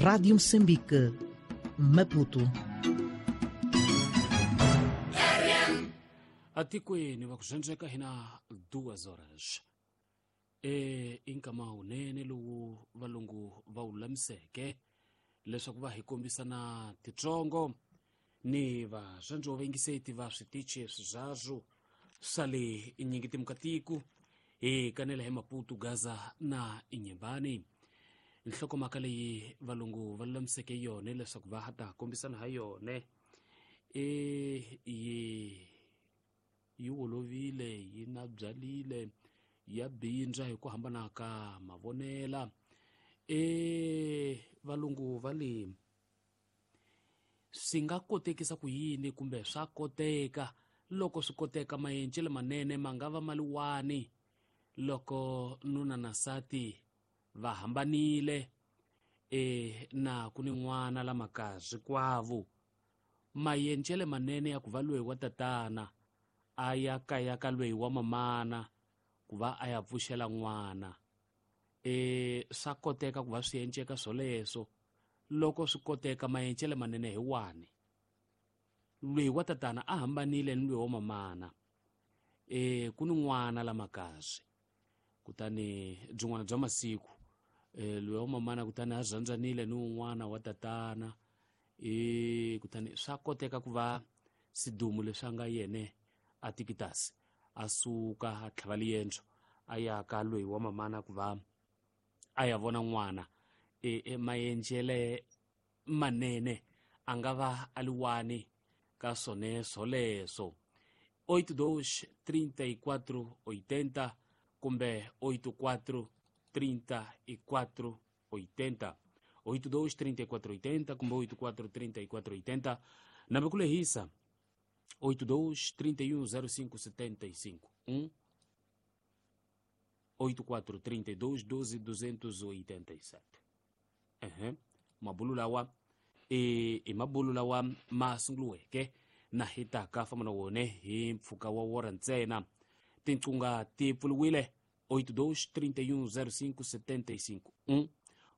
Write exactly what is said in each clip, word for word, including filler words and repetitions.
Rádio Moçambique, Maputo. Atikweni va ku zhendzeka hina duas horas. E inkama unene lowu valungu va wu lulamiseke leswaku va hi kombisana titsongo ni vaswandzo va va switichi swizazwo swa le inyingitimukatiku hi kanela hi Maputo, Gaza na Inyembani. Nhlokomhaka leyi valungu va lulamiseke yona leswaku va ha ta kombisana ha yona e yi yi olovile, yi na byalile, ya bindza hi ku hambana ka mavonela. E valungu va le swi nga kotekisa ku yini kumbe swa koteka loko swi koteka maendlelo manene ma nga va maliwani loko nuna na nsati va hambanile e na ku ni n'wana la makazi kwavo. Maendlelo manene ya ku va loyi wa tatana a ya kaya ka loyi wa mamana ku va a ya pfuxela n'wana. E swa koteka ku va swi endleka swoleswo loko swi koteka maendlelo manene hi wani. Loyi wa tatana a hambanile ni loyi wa mamana, e ku ni n'wana la makazi, kutani byin'wana bya masiku e loyi wa mamana kutani a rhandzanile ni un'wana wa tatana, e kutani swa koteka ku va sidumu leswi a nga yene a tikitasi a suka a tlhava liendzo a ya ka loyi wa mamana ku va a ya vona n'wana. E, e maendlele manene a nga va a liwani ka swone swoleswo. Oito dois trinta e quatro oitenta kumbe oito quatro trinta e quatro oitenta, oito dois trinta e quatro oitenta kumbe oito quatro trinta e quatro oitenta. Nambe ku lehisa oito dois trinta e um zero cinco setenta e cinco um, oito quatro trinta e dois doze duzentos e oitenta e sete. Uhum. Mabulu lawa e e mabulu lawa ma sunguluweke na hi ta ka famba na wona hi mpfhuka wa wora ntsena. Tinqunga ti pfuriwile oito dois trinta e um zero cinco setenta e cinco um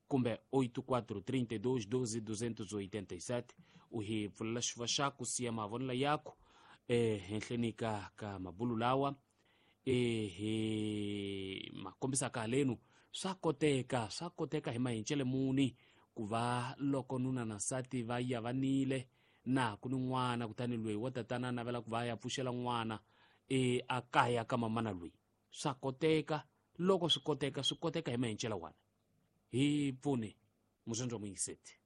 kumbe oito quatro trinta e dois doze duzentos e oitenta e sete. U hi pfulela xifuva xaku siya mavonelo yaku e henhleni ka ka mabulu lawa e hi ma kombisaka halenu. Swa koteka, swa koteka hi maendlelo muni ku va loko nuna na nsati va yavanile na ku ni n'wana, kutani loyi wa tatana a navela ku va ya pfuxela n'wana e a kaya ka mamana loyi. Swa koteka, loko swi koteka swi koteka hi maendlelo wana. Hi pfune muzondwa muyingiseti.